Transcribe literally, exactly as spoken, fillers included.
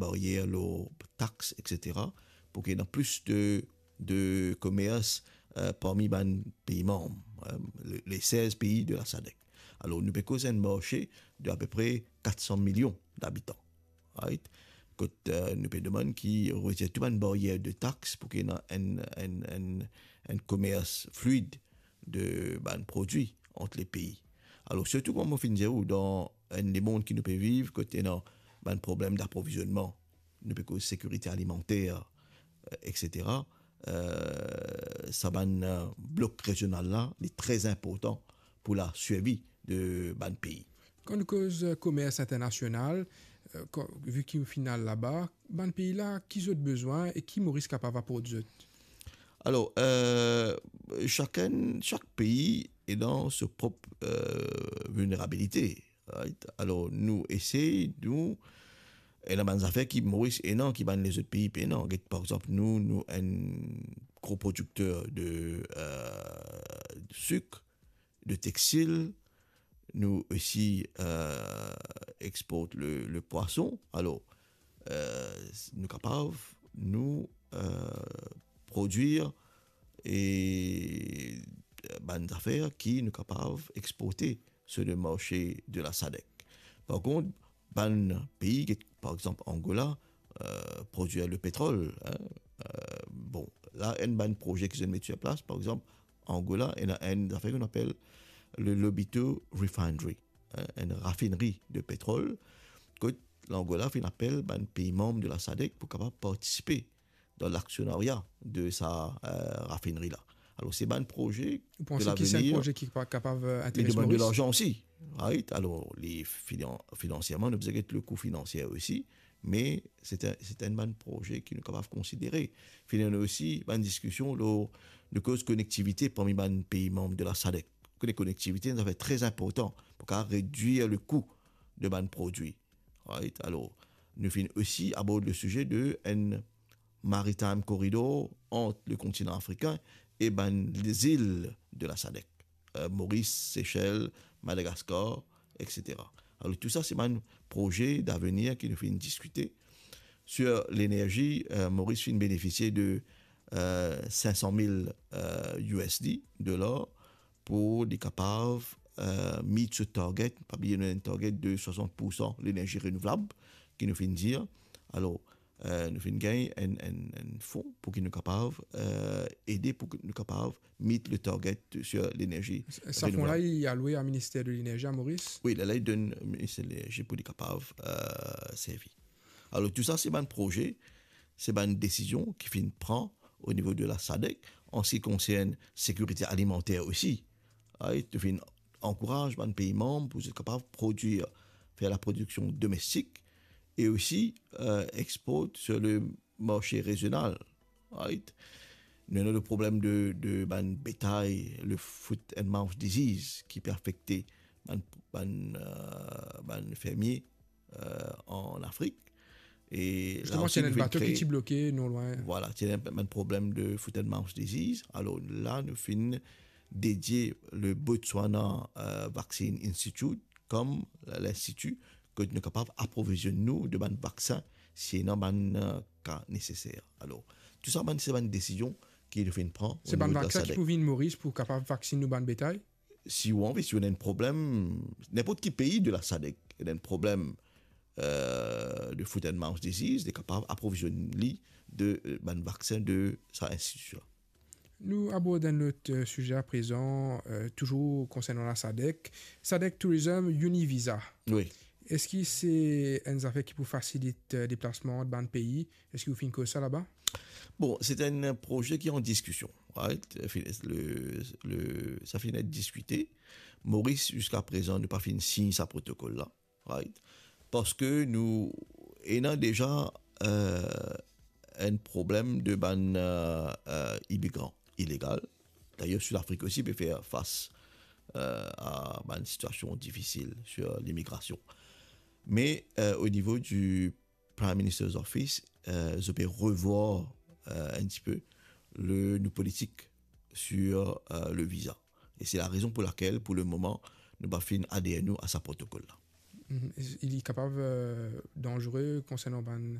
baryer lor tax, et cetera, pou ki ena plis de, de komers, eh, parmi bann pei manm, eh, le, le sez pei de la sadek. Alor, nou pe koz enn marse de apepre kat san milion dabitan. Right? Kot, eh, nou pe demann ki retir tou bann baryer de tax pou ki ena enn, enn, enn, enn komers fluid de bann prodwi ant le pei. Alor, sirtou kouma mo finn dir ou, dan enn lemond ki nou pe viv, kot ena bann problem daprovizonnman, nou pe koz sekirite alimanter, eh, et cetera, eh, sa bann, eh, blok rezional la, li tre inportan pou la sirvi de bann pei. Kan nou koz, eh, komers internasional, eh, kan, vi ki ou finn al laba, bann pei la, ki zot bizin e ki Moris kapav aport zot? Alor, eh, sakenn, sak pei ena so prop, eh, vilnerabilite, right? Alor, nou esey, nou, ena bann zafer ki Moris ena, ki bann lezot pei pena. Get, par exanp, nou, nou enn gro prodikter de, eh, sik, de textil, nou osi, eh, export le, le pwason. Alor, eh, nou kapav, nou, eh, prodwir e, eh, bann zafer ki nou kapav exporte sur le marse de la sadek. Par kont, bann pei, get, par exanp, Angola, eh, prodwir le petrol, hein. Eh, bon, la, enn bann proze ki zot met sur plas, par exanp, Angola, ena enn zafer ki nou apel le Lobito Refinery, hein, enn rafineri de petrol, kot Langola finn apel bann pei manm de la sadek pou kapav partisipe dan laksionaria de sa, eh, rafineri la. Alor, se bann proze de lavenir. Ou panse ki se enn proze ki pa kapav, eh, interes Moris? Li demann de larzan osi, right? Alor, li finan-, finansierman, nou bizin get le kou finansier osi, me se enn, se enn bann proze ki nou kapav konsidere. Finn ena osi bann diskision lor, nou koz konektivite parmi bann pei manm de la sadek. Kone konektivite, enn zafer tre inportan pou kapav redwir le kou de bann prodwi. Right? Alor, nou finn osi abord le size de enn maritime corridor ant le kontinan afrikin e bann zil de la sadek, eh, Moris, Sesel, Madagaskar, et cetera. Alor, tou sa, se bann proze davenir ki nou finn diskite. Sur lenerzi, eh, Moris finn benefisie de, eh, sink san mil, eh, U S D, dolar, pou li kapav, eh, meet so target, pa bliye nou ena enn target de swasant poursan lenerzi renouvlab, ki nou finn dir. Alor, eh, nou finn gagn enn, enn, enn fon pou ki nou kapav, eh, ede pou ki nou kapav meet le target sur lenerzi renouvlab. Sa fon la, li alwe a Minister de Lenerzi a Moris? Wi, la, la, li donn Minister de Lenerzi pou li kapav, eh, servi. Alor, tou sa, se bann proze, se bann desizion ki finn pran o nivo de la sadek, an se ki konsern sekirite alimanter osi. Right? Nou finn ankouraz bann pei manm pou zot kapav prodwir, fer laprodiksion domestik e osi, eh, export sur le marse rezional. Right? Nou ena le problem de, de bann betay, le foot and mouth disease, ki pe afekte bann, bann, eh, bann fermie, eh, an Afrik. E la osi, nou finn kree, ti ena enn bato ki ti bloke non lwin. Vwala, ti ena enn problem de foot and mouth disease. Alor la, nou finn dedie le Botswana, eh, Vaccine Institute kom linstiti kot nou kapav aprovizionn nou de bann vaksin si ena bann, eh, ka neseser. Alor, tou sa bann, se bann desizion ki nou finn pran o nivo de la sadek. Se bann vaksin ki pou vinn Moris pou kapav vaksinn nou bann betay? Si ou anvi, si ou ena enn problem, ninport ki pei de la sadek, ena enn problem, eh, de foot and mouth disease, li kapav aprovizionn li de, eh, bann vaksin de sa institi la. Nou abord enn lot, eh, size aprezan, eh, touzour konsernan la sadek. Sadek Tourism Univisa. Wi. Eski se enn zafer ki pou fasilit, eh, deplasman ant bann pei? Eski ou finn koz sa laba? Bon, se enn proze ki an diskision, right? Fi-, le, le, sa finn et diskite. Moris, ziska prezan, nou pa finn sign sa protokol la, right? Parski nou ena deza, eh, enn problem de bann, eh, eh, imigran ilegal. Dayer, Sidafrik osi pe fer fas, eh, a bann sitiasion difisil sur limigrasion. Me, eh, o nivo di Prime Minister's Office, eh, zot pe revwar, eh, enn tipe le, nou politik sur, eh, le viza. E se larezon pou lakel, pou lemoman, nou pa finn ader nou a sa protokol la. Mhm. Li kapav, eh, danzere konsernan bann